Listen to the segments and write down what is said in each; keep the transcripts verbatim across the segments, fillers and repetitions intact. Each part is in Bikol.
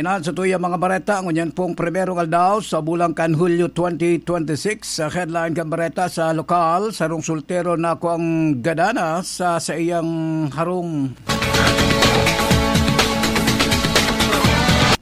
Yan sa tuyang mga bareta, ngunyan pong primerong aldaw sa bulan kan Hulyo twenty twenty-six. Sa headline kan bareta sa lokal, sarong soltero na kuang gadana sa saiyang harong.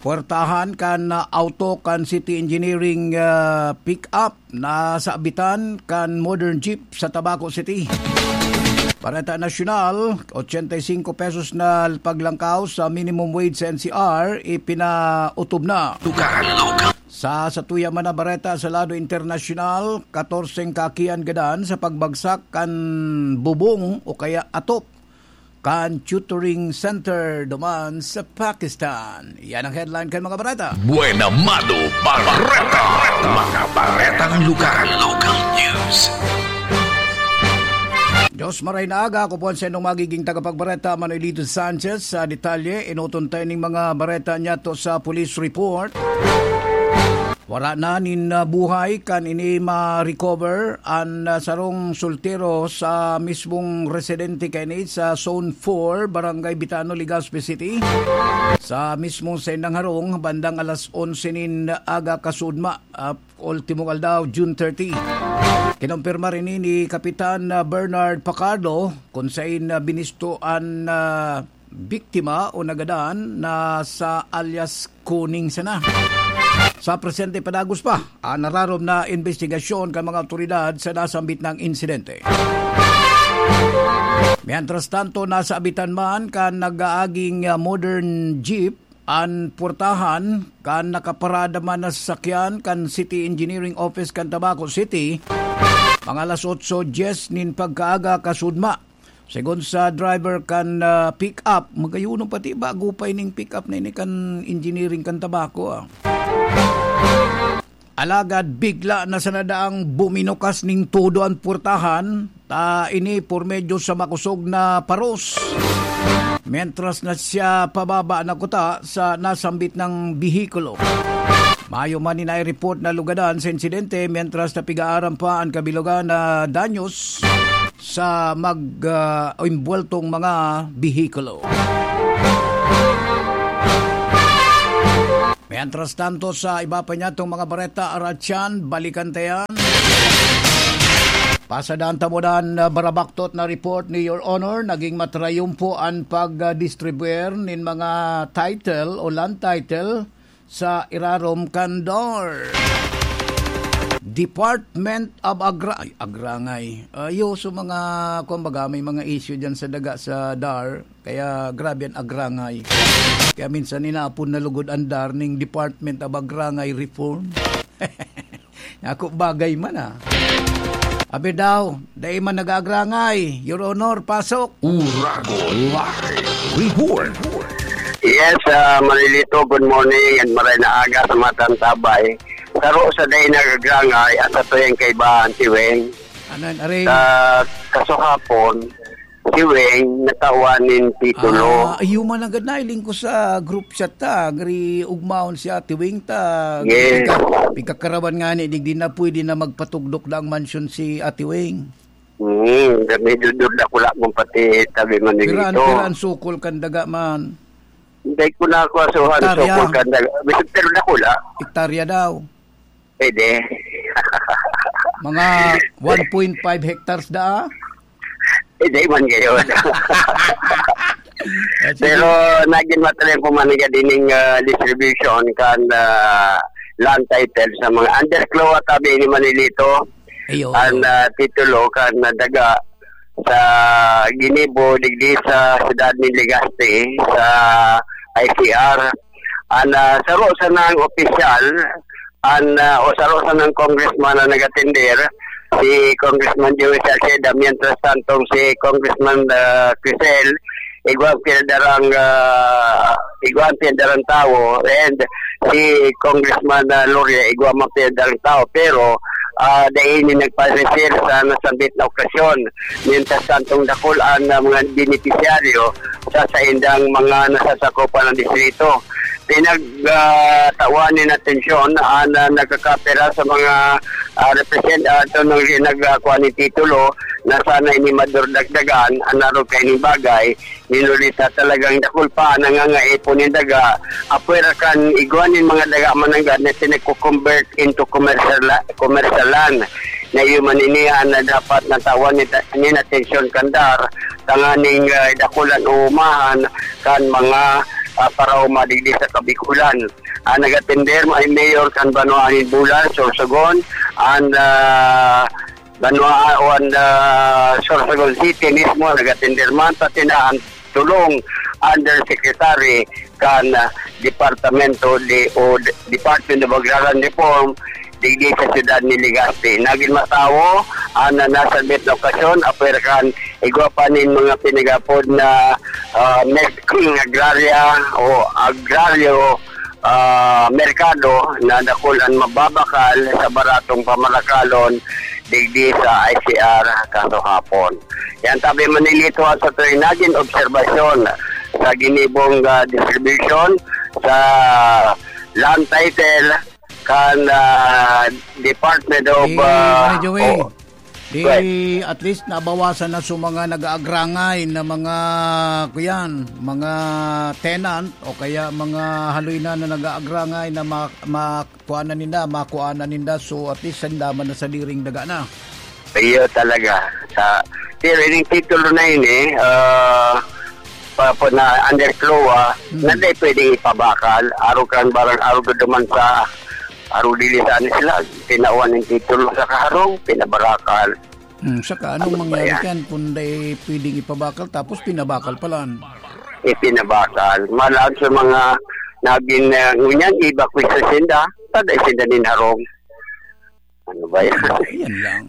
Puwertahan kan, ah, auto kan City Engineering, ah, pick-up na sabitan kan modern jeep sa Tabaco City. Bareta nasyonal, ochenta y cinco pesos na paglangkaw sa minimum wage sa N C R, ipinautob na. Tukahan Local. Sa, sa tuya man na bareta sa lado internasyonal, katorse ang kakian gadan sa pagbagsak kan bubong o kaya atop kan tutoring center duman sa Pakistan. Yan ang headline kan mga bareta. Buena Mano Bareta. Mga baretang lugar. Local news. Diyos maray na aga, ako po ang sa inyong magiging tagapagbareta, Manuelito Sanchez. Sa detalye, inutontay ning mga bareta niya to sa police report. Wara na nin, ah, buhay kan ini ma-recover an, ah, sarong soltero sa mismong residente kaini sa Zone four, Barangay Bitano, Legazpi City. Sa mismong saindang harong, bandang alas onse nin aga kasudma, ah, ultimong aldaw, June thirty. Kinumpirma rin ni Kapitan, ah, Bernard Pacardo kung sain, ah, binisto an, ah, biktima o nagadan na sa alias Kuning sana. Sa presente, padagos pa an nararom na imbestigasyon kan mga awtoridad sa nasambit na insidente. Mientras tanto, nasabitan man kan nag-aaging, ah, modern jeep an portahan kan nakaparada man na sasakyan kan City Engineering Office kan Tabaco City, mga alas otso dyes nin pagkaaga kasudma. Segun sa driver kan, ah, pick-up, magayon pati bago pa ining pick-up na ini kan engineering kan Tabaco, ah. Alagad bigla na sana daang buminukas nin todo an portahan, ta ini por medyo sa makosog na paros. Mientras na siya pababa na kuta sa nasambit na behikulo. Mayo man ni nai-report na lugadan sa insidente, mientras na pig-aaram pa an kabilugan na danyos sa mag, ah, imbuweltong mga behikulo. Mientras tanto, sa iba pa niyatong mga bareta, Aratyan, balikan ta yan. Pasadan ta mo dan, ah, barabaktot na report ni Your Honor, naging matrayumpo an pag-distribuer nin mga title o land title sa irarom kan DAR. Department of Agra-, ay, Agrangay. Ayo, so mga, kumbaga, may mga issue dyan sa daga sa DAR. Kaya grabe an agrangay. Kaya minsan inapon na lugod an DAR ning Department of Agrangay Reform. Ako bagay man, ah. Abi daw, dai man nag-aagrangay. Your Honor, pasok. Uragon Live Report. Yes, ah, Marilito, good morning and maray na aga sa mga tantabay. Saro sa dai nagagrangay at sa tuyang kaibahan si Weng. Ano yan, Aring? Sa kasuhapon, si Weng natawan nin titulo. Ah, iyo man agad na, iling ko sa group chat ta, gari ugmaon si Ate Weng ta. Yes. Pika-, pikakarawan nga ni, digdi na pwede na magpatugdok na ang mansyon si Ate Weng. Hmm, medyo dur na kula kung pati tabi man Pira, dito. Pira ang sukol kan daga man? Hindi ko na ako asuhan, Hektarya. Sukol kan daga. Pero na kula. Hektarya daw. Pwede. Mga one point five hectares da, ah? Hindi man gayon. Ah, sige. Pero naging matalim po man nga dining, ah, distribution kan, ah, land title sa mga underclaw at tabi ni Manilito. Ayo, ang, ayo. Ah, titulo kan nadaga sa ginibo digdi sa siyudad ni Legazpi, sa I C R. Ang, ah, saro sa nang opisyal, ang, ah, o saro sa nang congressman na nag-atender, si Congressman Joey Salceda, mientras tantong si Congressman, ah, Crisel, igwa ang pinadarang, ah, igwa ang pinadarang tawo, and si Congressman, ah, Loria, igwa man pinadarang tawo. Pero, ah, dai ini nagpareser sa nasambit na okasyon. Mientras tantong dakul an, ah, mga benepisyaryo sa saindang mga nasasakupan ng distrito. pinag, ah, tawan nin atensyon an, ah, nagkakapira sa mga, ah, represent-, ah, ito nang nagkakuha nin titulo na sana ini madurdagdagan an arog kaining bagay, minuli ta talagang dakul pa an nangangaipon nin daga, apwera kan igwa nin mga daga mananggad na pinagko-convert into commercial la-, commercial land. Na iyo man ini an dapat na tawan nin, nin atensyon kan DAR, tanganing, ah, dakulan o umahan kan mga, ah, paraoma digdi sa Kabikulan. Ang nag-atender, may mayor kan Banwaan nin Bulan, Sorsogon, and, ah, Banwaan, and, ah, Sorsogon City mismo, nag-atender man, pati na ang tulong undersecretary kan, ah, Departamento de, o de, Department of Agrarian Reform, digdi sa siyudad ni Legazpi. Nagin matawo ang, ah, nasabit na okasyon, apwera kan igwa pa nin mga pinagapod na, ah, mes-, agrarya o agraryo, ah, merkado na dakul an mababakal sa baratong pamarakalon digdi sa I C R kaso hapon. Yan tabi Manilito sa tuwing nagin obserbasyon sa ginibong, ah, distribution sa land title kan, ah, Department of, Di, ah, Manager Way, o- di, Right. At least nabawasan na sa mga nag-aagrangay na mga, kuyan, mga tenant o kaya mga haloy na, na nag-aagrangay na ma-, ma-, kuha na ninda, makuha na ninda. So, at least, sanda man na sa diring daga na. Iyo talaga. Sa, pero ining titulo na ini, ah, pa, pa na under CLOA, Mm. na di pwedeng ipabakal. Arog kan barang, arog duman sa, arog dili sa anis lang. Tinawan ng titulo sa kaharong, pinabarakal. Hmm, saka anong Ano ba mangyari yan? Yan kung di pwedeng ipabakal tapos pinabakal pala? Ipinabakal. Malaan sa mga naging, ah, ngunyan, iba ko sa sinda, tada sinda nin harong. Ano ba yan? Yan lang.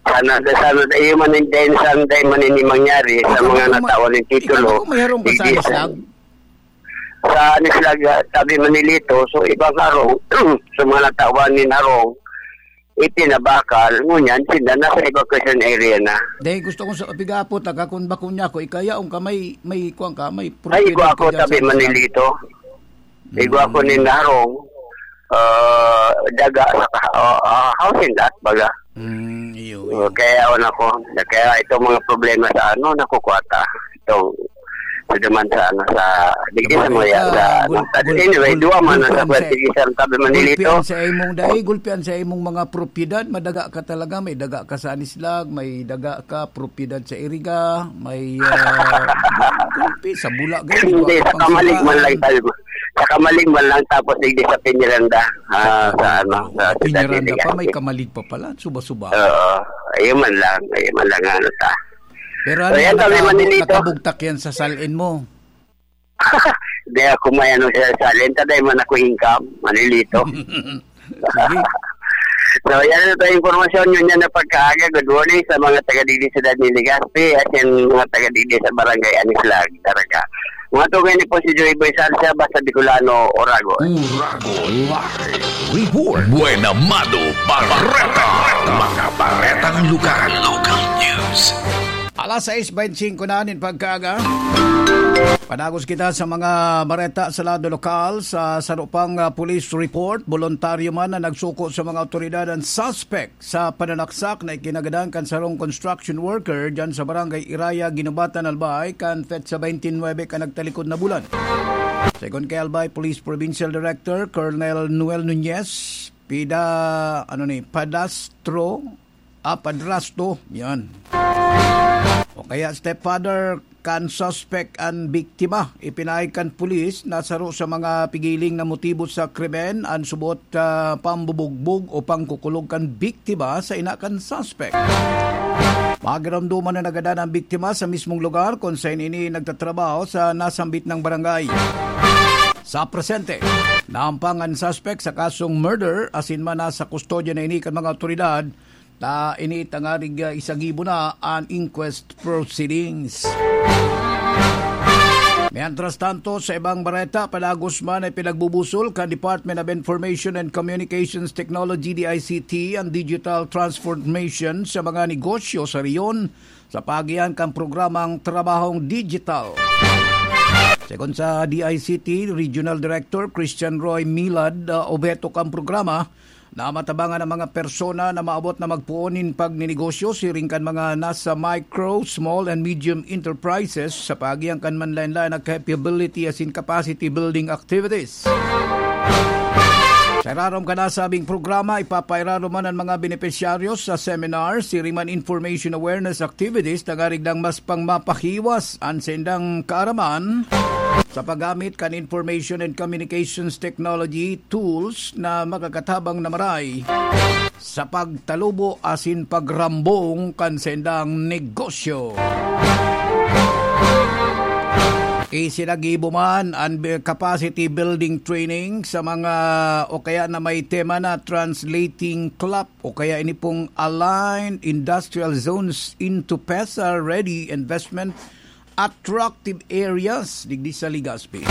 Sana, sana, iyo man yung dahil saan dahil man ini mangyari sa Ikaw mga ba, natawan ng titulo. Ikaw ba may harong ka sa Hindi Anislag? Sa Anislag, ah, tabi Manilito, so ibang harong, sa mga natawan ni harong, itinabakal, ngunyan, sila nasa evacuation area na. Dahil gusto kong sa, pigapot, taga kung bako niya ako, ikaya, kung ka may, may, kuwan ka, may Ay, property ko ako, ka dyan tabi sa Anislag. Manilito. Igo ako Mm. ni Narong, ah, daga sa ka-, ah, ah, housing lot, baga. Mm, iyo, So, iyo. Kaya ako nako, kaya itong mga problema sa ano, nakukuha ta. Itong, sa duman sa ano, sa, digdi sa Sabagay mga ka, sa, ano. gul-, But gul-, anyway, duwa man ang gulpian sa sa, pwede isang tabi Manilito. Gulpian sa imong dai, gulpian sa imong mga propiedad, madaga ka talaga, may daga ka sa Anislag, may daga ka, propiedad sa Iriga, may, ah, gulpi sa Bulaga, Hindi, may sa Kamalig man lang tayo. Sa Kamalig man lang, tapos digdi sa Peñaranda. Ah, sa ano, sa Siyudad Peñaranda pa, may Legazpi. Kamalig pa pala, suba-suba. Oo, ayun man lang, ayun man lang ano ta. Pero So, ano yan, yan, sabi nakabu-, Manilito. Nakabugtak yan sa salin mo? Di ako may ano sa salin, taday man ako income, Manilito. Sige. So, yan ang impormasyon yun yan na pagkaaga. Good morning sa mga taga-digdi sa Siyudad ni Legazpi at yan mga taga-digdi sa Barangay Anislag, Daraga. Mga tugay ni po si Joey Boy Salsa, basta Bicolano, Oragon. Oragon Live Report. Buena Mado Bareta. Mga baretang lugar. Local news. Alas sais beintisinko na nin pagkaaga. Padagos kita sa mga bareta sa lado lokal. Sa saro pang, ah, police report, boluntaryo man na nagsuko sa mga awtoridad ang suspect sa pananaksak na ikinagadan kan sarong construction worker dyan sa Barangay Iraya, Guinobatan, Albay, kan petsa twenty-nine kan nagtalikod na bulan. Segun kay Albay Police Provincial Director Colonel Noel Nunez, pida, ano ni, padastro, ah, padrasto, yan. O kaya stepfather kan suspect an biktima. Ipinahid kan pulis na saro sa mga pigiling na motibo sa krimen an subot, ah, pambubugbog o pangkukulog kan biktima sa ina kan suspect. Magiromdoman na nagadan ang biktima sa mismong lugar kung saan ini nagtatrabaho sa nasambit ng barangay. Sa presente, naampang ang suspect sa kasong murder, asin man nasa kustodya na ini kan mga awtoridad. Ta ini tangarig, ah, isagibo na an inquest proceedings. Mientras tanto, sa ibang bareta, padagos man ay pinagbubusol kan Department of Information and Communications Technology, D I C T, ang digital transformation sa mga negosyo sa rehiyon sa paagihan kan programang Trabahong Digital. Segun sa D I C T Regional Director Christian Roy Milad, ah, obheto kan programa na matabangan ang mga persona na maabot na magpoon nin pagninegosyo siring kan mga nasa micro, small and medium enterprises sa paagi kan manlaen-laen na capability asin capacity building activities. Sa irarom kan nasabing programa, ipapairarom man an mga benepisyaryo sa seminar, siring man information awareness activities, tangarig dang mas pang mapahiwas an saindang kaaraman sa paggamit kan information and communications technology tools na makakatabang na maray sa pagtalubo asin pagrambong kan saindang negosyo. Isinagibo man an bi-, capacity building training sa mga o kaya na may tema na translating CLAP o kaya ini pong Aligned Industrial Zones into PEZA Ready Investment Attractive Areas digdi sa Legazpi.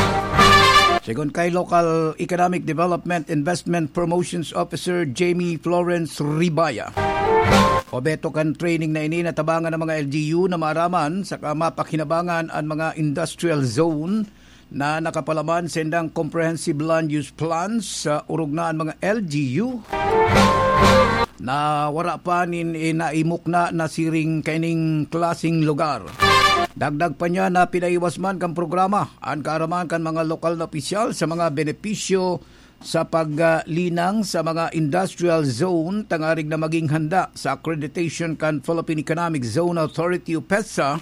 Segun kay Local Economic Development Investment Promotions Officer Jamie Florence Ribaya, obheto kan training na ini natabangan ang mga L G U na maaraman saka mapakinabangan an mga industrial zone na nakapalaman sa indang comprehensive land use plans sa orog na an mga L G U na wara pa nin, eh, naimukna na siring kaining klaseng lugar. Dagdag pa niya na pinaiwas man kan programa an kaaraman kan mga lokal na opisyal sa mga benepisyo sa paglinang sa mga industrial zone tangarig na maging handa sa accreditation kan Philippine Economic Zone Authority o PEZA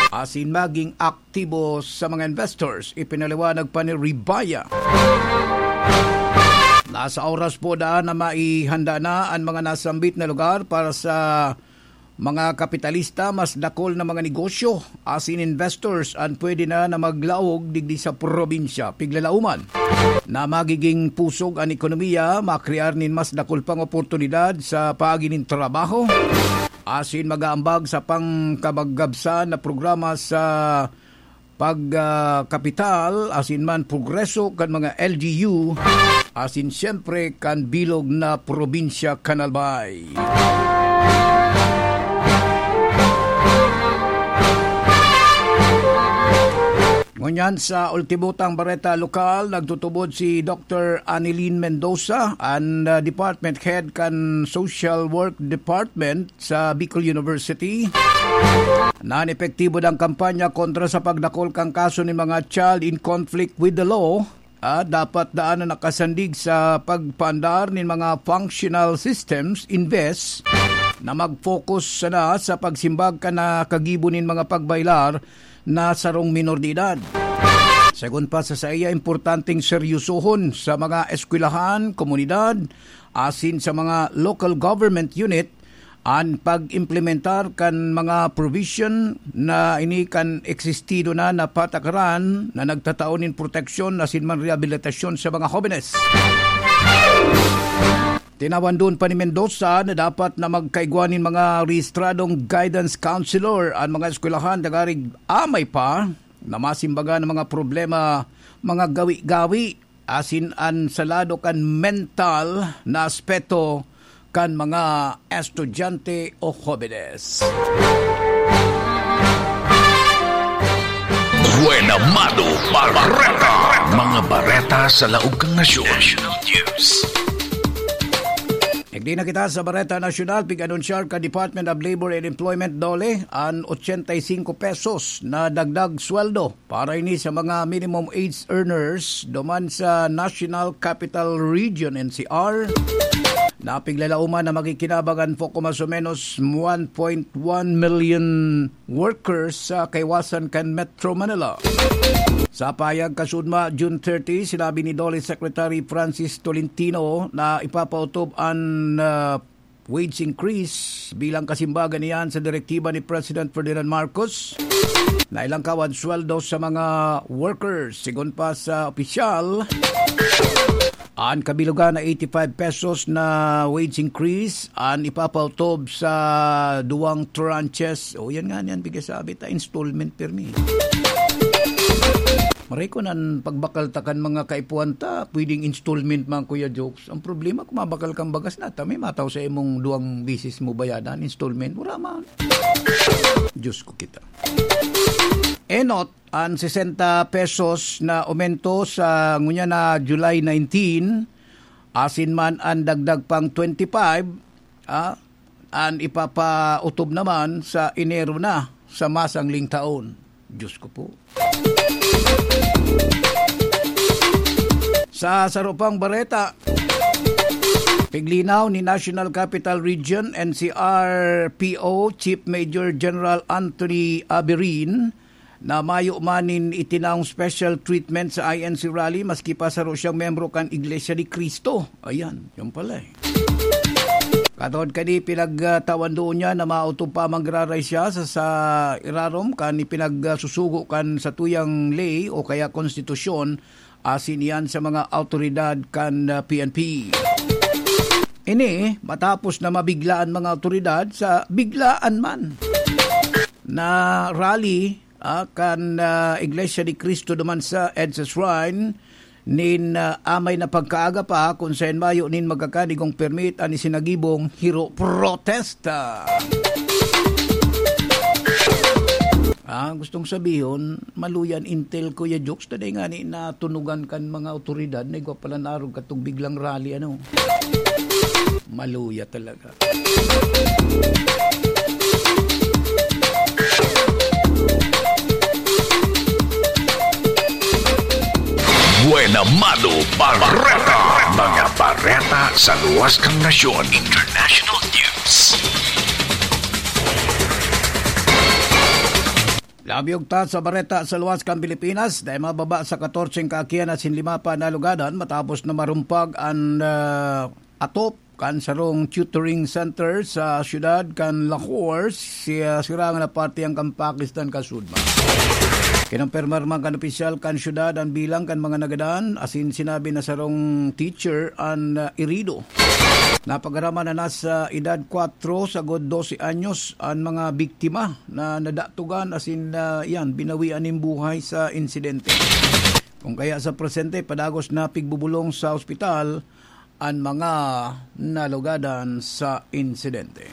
asin maging aktibo sa mga investors. Ipinaliwanag pa ni Ribaya, nasa oras po daan na maihanda na an mga nasambit na lugar para sa mga kapitalista, mas dakul na mga negosyo asin investors an pwede na na maglaog digdi sa probinsya. Piglalauman na magiging pusog an ekonomiya, makrear nin mas dakul pang oportunidad sa paagi nin trabaho, asin mag-aambag sa pangkabagabsan na programa sa pag, ah, kapital, asin man progreso kan mga L G U, asin siyempre kan bilog na probinsya kan Albay. Ngunyan sa ultimo tang bareta lokal, nagtutubod si Doctor Anilin Mendoza, an, ah, department head kan Social Work Department sa Bicol University, na an epektibo dang kampanya kontra sa pagdakol kan kaso nin mga child in conflict with the law, ah, dapat daan na nakasandig sa pagpaandar nin mga functional systems imbes na mag-focus sana sa pagsimbag kan nakagibo nin mga pagbailar na sarong minor de edad. Segun pa sa saiya, importanteng seryosohon sa mga eskwelahan, komunidad, asin sa mga local government unit an pag-implementar kan mga provision na ini kan existido na na patakaran na nagtatao nin proteksyon asin man rehabilitasyon sa mga hobenes. Tinawandon pa ni Mendoza na dapat na magkaigwa nin mga rehistradong guidance counselor an mga eskwelahan, tangarig amay pa na masimbagan ang mga problema, mga gawi-gawi, asin an sa lado kan mental na aspeto kan mga estudyante o hobenes. Buena Mano Bareta. Mga bareta sa laog kan nasyon. National News. Igdi na kita sa Bareta Nasyonal, pig-anunsyar kan Department of Labor and Employment, DOLE, an ochenta y cinco pesos na dagdag sweldo para ini sa mga minimum wage earners duman sa National Capital Region, N C R. Napiglalauman na makikinabang an poco mas o menos one point one million workers sa kaiwasan kan Metro Manila. Sa pahayag kasudma, June thirty, sinabi ni DOLE Secretary Francis Tolentino na ipapaotob an, ah, wage increase bilang kasimbagan niyan sa direktiba ni President Ferdinand Marcos na ilangkaw an sweldo sa mga workers. Sigon pa sa opisyal, an kabilogan na eighty-five pesos na wage increase an ipapautob sa duwang tranches. O, yan nga, yan, bigas sabi ta, installment permi. Maray ko nan pagbakal ta kan mga kaipuhan ta, pwedeng installment man, Kuya Jokes. Ang problema, kung mabakal kang bagas na, ta may mataw sa imong duwang bisis mo bayadan, installment, wala man. Diyos ko kita. Enot, an sesenta pesos na aumento sa ngunyan na July nineteen, asin man an dagdag pang twenty-five, ah, an ipapautob naman sa Enero na sa masangling taon. Diyos ko po. Sa saro pang bareta, piglinaw ni National Capital Region, N C R P O, Chief Major General Anthony Aberin, na mayo man nin itinaong special treatment sa I N C rally, maski pa saro siyang membro kan Iglesia ni Cristo. Ayan, yun pala eh. Katod kani, pinagtawan doon niya na maotob pa manggiraray siya sa, sa irarom kan ipinagsusugo kan satuyang ley o kaya konstitusyon, asin iyan sa mga awtoridad kan, ah, P N P. Ini matapos na mabigla an mga awtoridad sa biglaan man na rally, ah, kan, ah, Iglesia ni Cristo duman sa EDSA Shrine nin, ah, amay na pagkaaga pa, kun saen mayo nin magkakanigong permit an isinagibong hero protesta. Ah, gustong sabihon, maluya an Intel, Kuya Jokes, ta dai ngani natunugan kan mga awtoridad na igwa pala na arog katong biglang rally, ano? Maluya talaga. Buena Mano Bareta. Mga bareta sa luwas kan nasyon. International News. Labi ugta sa bareta sa luwas kan Pilipinas, dai mababa sa katorse ang kaakian asin lima pa nalugadan matapos na marumpag an, ah, atop kan sarong tutoring center sa siyudad kan Lahore, siya, sirangan na parte ang kan Pakistan kasudma. Kinumpirmar man kan opisyal kan siyudad an bilang kan mga nagadan, asin sinabi na sarong teacher an, ah, irido. Napagaraman na nasa edad kwatro sagod dose anyos an mga biktima na nadatugan asin, ah, yan, binawian nin buhay sa insidente. Kung kaya sa presente, padagos na pigbubulong sa ospital an mga nalugadan sa insidente.